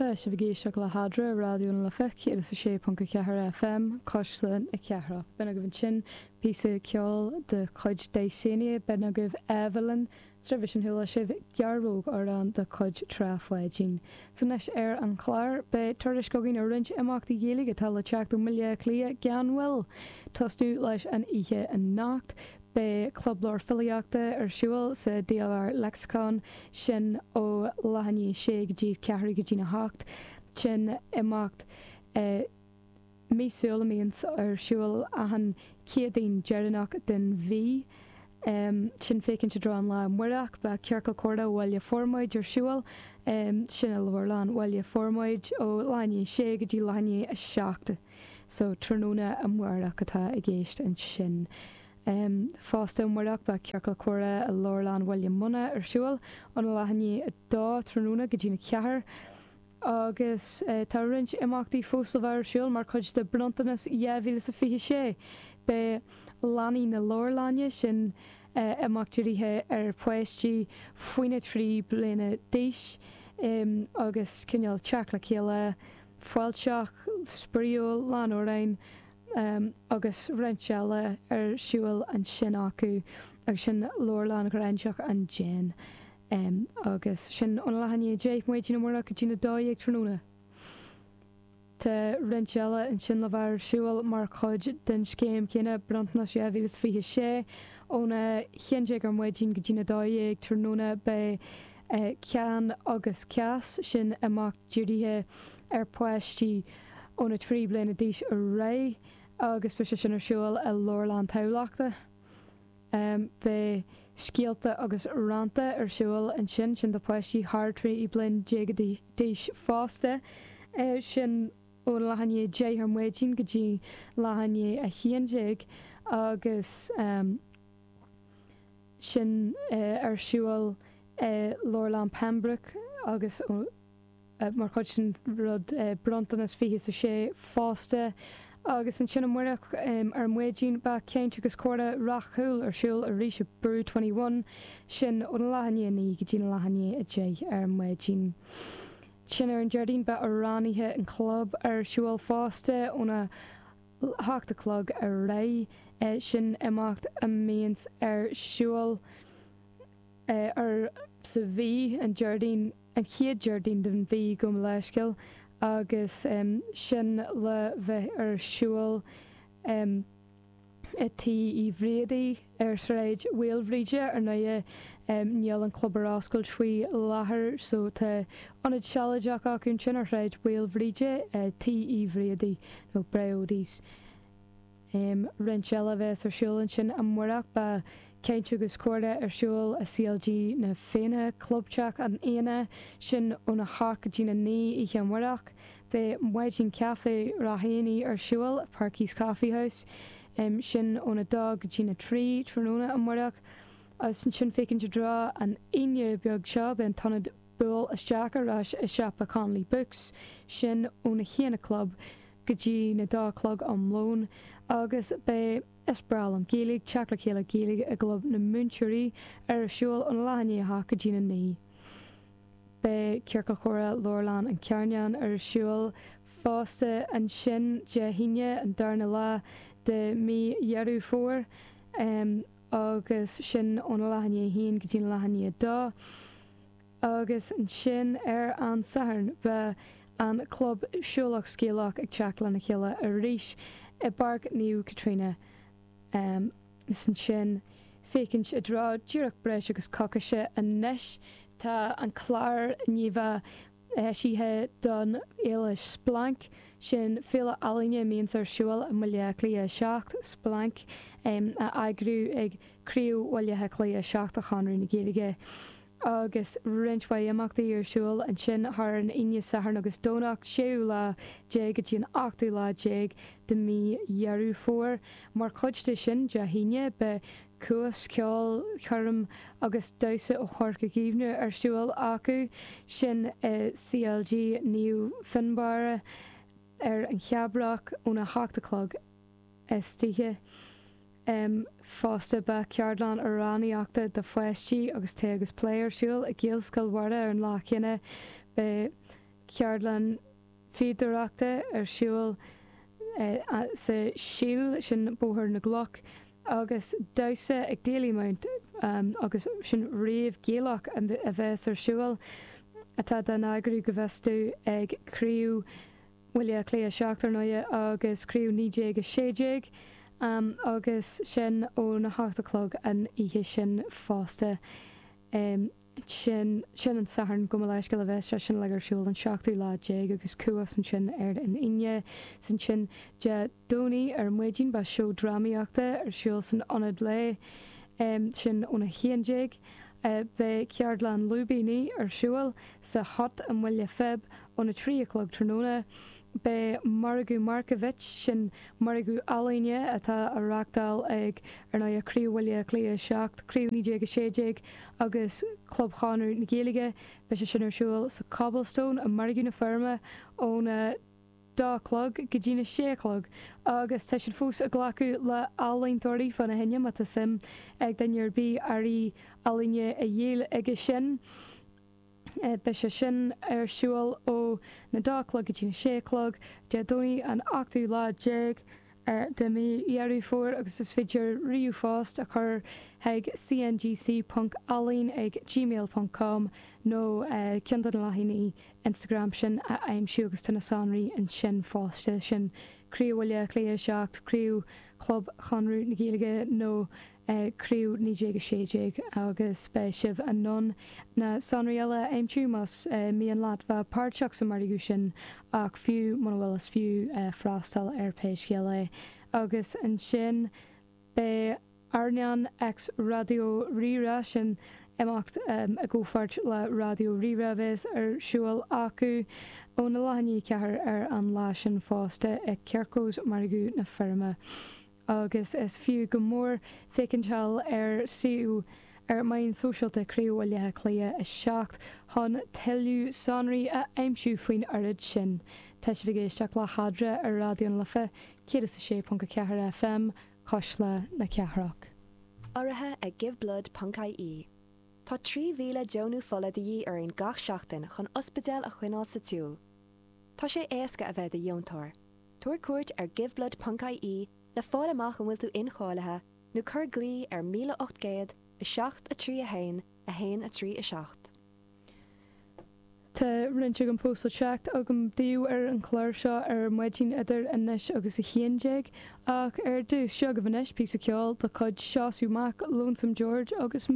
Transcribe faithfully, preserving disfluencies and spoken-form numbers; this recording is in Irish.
Tá sibh ag éisteacht le hAdra Raidió na Life céad is a sé ponc a ceathair FM, Cuisle na Cathrach. B'in agaibh ansin píosa ceoil de chuid Dysania, b'in agaibh Evelyn, roimhe sin chuala sibh Gearróg amhrán de chuid Trá Pháidín. So anois ar an chlár beidh tuairisc againn ar roinnt imeachtaí Gaeilge atá le teacht ó mBaile Átha Cliath gan mhoill. Tosnú leis an oíche anocht. Beidh Club Leabhar Filíochta ar siúl sa DLR Lexicon sin ó leath i ndiaidh a sé go dtí ceathrú go dtí a hocht sin imeacht eh, míosúil a bhíonns ar siúl achan Chéadaoin deireanach den mhí. Um, sin féachaint i dtreo an lá amárach beidh Ciorcal Comhrá Bhaile Formaid ar siúl um, sin i Leabharlann Bhaile Formaid ó leath i ndiaidh a sé go dtí leath i ndiaidh a seacht. So tráthnóna amárach atá i gceist ansin. Um, fosta amárach beidh Ciorcal Comhrá i Leabharlann Bhaile Munna ar siúl óna leath i ndiaidh a dó tráthnóna go dtí na ceathair. Agus uh, tá roinnt imeachtaí fós le bheith ar siúl mar chuid de bronntanas dhá mhíle is a fiche sé. Beidh leanaí na leabharlainne sin uh, imeacht dírithe ar pháistí faoina trí bliana d'aois um, agus cineál teacht le chéile fáilteach, spraíúil, lán amhráin um, agus roinnt eile ar siúl ansin acu agus sin Leabharlann Ghráinseach an Déin. Um, agus sin óna leath i ndiaidh a deich maidin amárach go dtí a dó dhéag tráthnóna. Tá roinnt eile ansin le bheith ar siúl mar chuid den scéim chéanna bronntanas dhá mhíle is fiche sé óna haon déag ar maidin go dtí a dó dhéag tráthnóna beidh eh, ceann agus ceas sin imeacht dírithe ar pháistí óna trí bliana d'aois ar aghaidh agus beidh sé sin ar siúl i Leabharlann Thamhlachta. Um, beidh scéalta agus rannta ar siúl ansin sin do pháistí thar trí bliana déag d'aois fosta uh, sin ó leath i ndiaidh a deich ar maidin go dtí leath i ndiaidh a haon déag agus um, sin uh, ar siúl uh, Leabharlann Pembroke agus uh, mar chuid sin rud uh, bronntanas fiche a sé fosta agus ansin amárach um, ar maidin beidh caint agus comhrá rathúil ar siúl arís i Brew twenty one sin óna leath i ndiaidh a naoi go dtí leath i ndiaidh a deich ar maidin. Sin ar an Déardaoin beidh amhránaithe an chlub ar siúl fosta óna hocht a chlog ar aghaidh eh, sin imeacht a mbíonns ar siúl eh, ar sa mhí an Déardaoin an chéad Déardaoin den mhí go leisciil agus um, sin le bheith ar siúl um, i Tigh Uí Bhriadaí ar Shráid Mhaoilbhríde ar ndóigh um, níl an club ar oscailt faoi láthair so tá ionad sealadach acu sin ar Shráid Mhaoilbhríde uh, Tigh Uí Bhriadaí nó Bréodies. Um, roinnt eile bheas ar siúl ansin amárach beidh caint agus comhrá ar siúl i C L G na Féinne Clubteach an Fhéinne sin óna hocht go dtí a naoi oíche amárach. Beidh maidin caife Rahéanaí ar siúl Parky's Coffee House um, sin óna dó go dtí a trí tráthnóna amárach. Agus ansin féachaint i dtreo an Aoine beag seo beidh an t-ionad buail isteach ar ais i siopa Connolly Books sin óna haon a chlog go dtí na dó chlog am lón agus beidh Is Breá Liom Gaeilge teacht le chéile Gaeilge i gClub na Múinteoirí ar siúl óna leath i ndiaidh a hocht go dtí a naoi. Beidh Ciorcal Comhrá Leabharlann an Charnáin ar siúl fosta ansin Dé hAoine an darna lá de mí Dheireadh Fómhair um, agus sin óna leath i ndiaidh a haon go dtí leath i ndiaidh a dó. Agus ansin ar an Satharn beidh an club siúlach scéalach ag teacht lena chéile arís i bPáirc Naomh Caitríona. Um, is ansin féachaint i dtreo díreach breis agus coicíse anois tá an clár níomh eisithe don fhéile Splanc sin féile ealaíne a bhíonns ar siúl i mBaile Átha Cliath seacht Splanc um, a eagrú ag Craobh Bhaile Átha Cliath seacht de Chonradh na Gaeilge. Agus roinnt mhaith imeachtaí ar siúl ansin thar an Aoine Satharn agus Domhnach séú lá déag go dtí an ochtú lá déag de mí Dheireadh Fómhair. Mar chuid de sin Dé hAoine beidh cuas ceolchoirm agus damhsa ó Chorca Dhuibhne ar siúl acu sin i C L G Naomh Fionnbarra ar an Cheabrach óna hocht a chlog istoíche. Um, fosta beidh ceardlann amhránaíochta do pháistí agus tae agus plé ar siúl i Gaelscoil Mhuire ar an lá céanna beidh ceardlann fíodóireachta ar siúl sa Síol, sin Bóthar na gCloch, agus damhsa ag Dalymount agus sin rave Gaelach a bheas ar siúl atá á eagrú go bhfios domh ag Craobh Bhaile Átha Cliath a seacht ar ndóighe agus Craobh naoi déag a sé déag agus sin óna hocht a chlog an oíche sin fosta. Sin sin an Satharn gabh mo leithscéal a bheas sé sin uilig ar siúl an seachtú lá déag agus Cuas ansin ar an Aoine. 'S ansin Dé Domhnaigh ar maidin beidh seó drámaíochta ar siúl san Ionad Lae, sin óna haon déag. Beidh ceardlann lúibíní ar siúl sa Hut i mBaile Phib óna trí a chlog tráthnóna. Beidh Margadh Markievicz, sin margadh ealaíne atá á reáchtáil ag, ar ndóigh, Craobh Bhaile Átha Cliath a seacht, Craobh naoi déag a sé déag agus Club Chonradh na Gaeilge, beidh sé sin ar siúl sa Cobblestone i Margadh na Feirme óna dó a chlog go dtína sé a chlog agus tá siad fós ag glacadh le ealaíontóirí fána choinne má tá suim ag duine ar bith earraí ealaíne a dhíol aige sin. Beidh sé sin ar siúl ó na dó a chlog go dtí na sé a chlog Dé Domhnaigh an ochtú lá déag de mhí Dheireadh Fómhair agus is féidir ríomhphost a chur chuig cngc ponc ealaín ag gmail ponc com nó ceann de na leathanaigh Instagram sin a aimsiú agus tá na sonraí ansin fosta, sin Craobh Bhaile Átha Cliath a seacht, Craobh Chlub Chonradh na Gaeilge nó Craobh naoi déag a sé déag agus beidh sibh in ann na sonraí eile a aimsiú más mian leat bheith páirteach sa margadh sin ach fiú muna bhfuil is fiú freastal ar pé scéal é. Agus ansin beidh Airneán X Raidió Rí-Rá, sin imeacht i gcomhpháirt le Raidió Rí-Rá a bheas ar siúl acu óna leath i ndiaidh a ceathair ar an lá sin fosta i Quirko's Margadh na Feirme. agus is fiú go mór féachaint thall ar suíomh ar meáin sóisialta Craobh Bhaile Átha Cliath a seacht chun tuilleadh sonraí a aimsiú faoin oiread sin. Tá sibh ag éisteacht le hEadra ar Raidió na Life céad is a sé ponc a ceathair FM, Cuisle na Cathrach. Urraithe ag Giveblood ponc ie. Tá trí mhíle deonú fola de dhíth orainn gach seachtain chun ospidéil a choinneáil sa tsiúl. Tá sé éasca a bheith i do dheontóir. Tabhair cuairt ar Giveblood ponc ie le fáil amach an bhfuil tú incháilithe nó cuir glao ar míle ocht gcéad, a seacht, a trí, a haon, a haon, a trí, a seacht. Tá roinnt agam fós le teacht agam daoibh ar an chlár seo ar maidin idir anois agus a haon déag, ach ar dtús, seo agaibh anois píosa ceoil de chuid Seosamh Mac, Lonesome George agus.